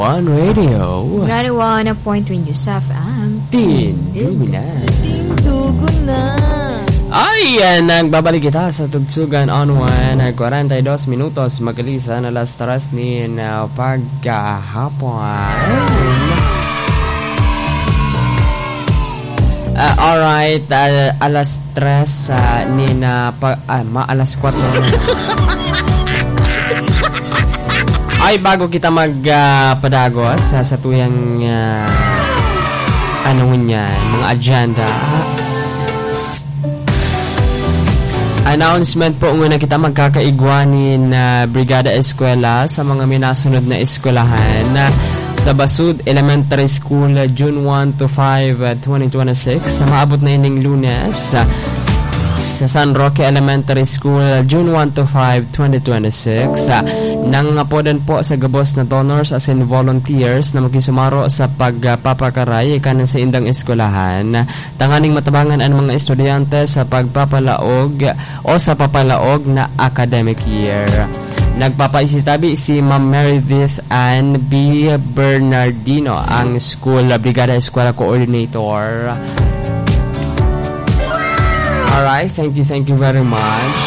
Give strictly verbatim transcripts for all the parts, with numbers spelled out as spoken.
On Radio. Ninety-one point three News F M. Tindugo na. Tindugo na. Ay, yan, nagbabalik kita sa Tugsugan on One. Kwarenta y dos minutos, magalisan alas tres nin, ah, pagkahapon. Ah, alright, ah, alas tres, ah, nin, ah, pa-, ah, ma-, alas kwatro na. Ay, bago kita mag, ah, padagos sa, sa tuyang, ah, ano ngunyan, mga agenda. Announcement po muna kita, magkakaigwa nin, ah, Brigada Eskwela sa mga minasunod na eskwelahan. Ah, sa Basud Elementary School, ah, June one to five, ah, twenty twenty-six, sa maabot na ining Lunes, ah, sa San Roque Elementary School, June one to five, twenty twenty-six. Ah, nangangapodan po sa gabos na donors, as in volunteers, na makisumaro sa pagpapakaray kanan sa indang eskwelahan, tanganing matabangan an mga estudyante sa pagpapalaog o sa papalaog na academic year. Nagpapaisitabi si Ma'am Meredith Ann B. Bernardino, ang School Brigada Eskwela Coordinator. Alright, thank you, thank you very much.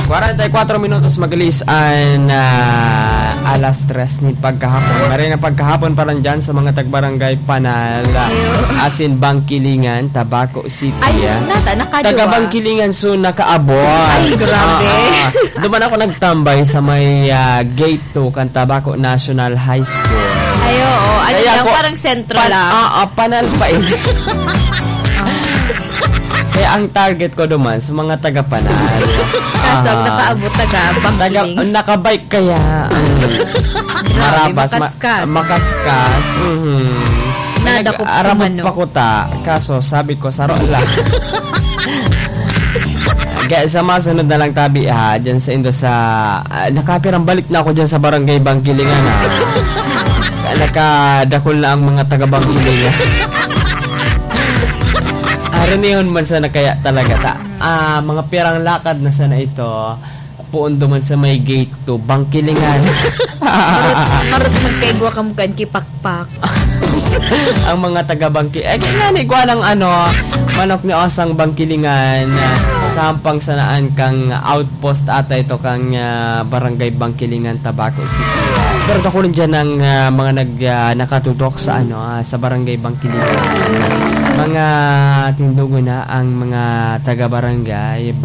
Kwarenta y kwatro minutos magalis an, ah, alas tres nin pagkahapon. Maray na pagkahapon pa lang dyan sa mga tagbarangay Panal, ah, Ayo. Asin, Bangkilingan, Tabaco City, Ay, ah. nata, nakaduwa. Taga Bangkilingan, so nakaabot. Ay, grabe. Ah, ah. Duman ako nagtambay sa may, ah, gate two kan Tabaco National High School. Ay, oo. Ano Kaya lang, ako, parang sentro pan-, lang. ah, ah, Panal pa eh. Kaya ang target ko duman sa mga taga Panal. Kaso ang Ah. nakaabot, taga Taga, Bangkiling. nakabike kaya ang Grabe, marabas, ma-, makaskas. makaskas. Mhm. Nadakop sa Nag-arabot manok. pa kuta. Kaso sabi ko, "Saro lang." Kaya sa masunod na lang tabi, ha, dyan sa indo sa, ah, nakapirang balik na ako dyan sa Barangay Bangkilingan, ha. Nakadakol na ang mga taga Bangkilingan. Arinihon man sana kaya talaga ta. Ah, mga pirang lakad na sana ito, poon duman sa may gate to, Bangkilingan. Marot, marot magkaigwa kamo kan kipakpak. Ang mga taga Bangki-, eh, kaya ni, kuha ng ano, manok ni Osang Bangkilingan, ah, sa hampang sanaan kang outpost ata ito kang, ah, Barangay Bangkilingan, Tabaco City. Pero ako rin dyan ang, ah, mga nag, ah, nakatutok sa ano, ah, sa Barangay Bangkilingan. Mga tindugo na ang mga taga-barangay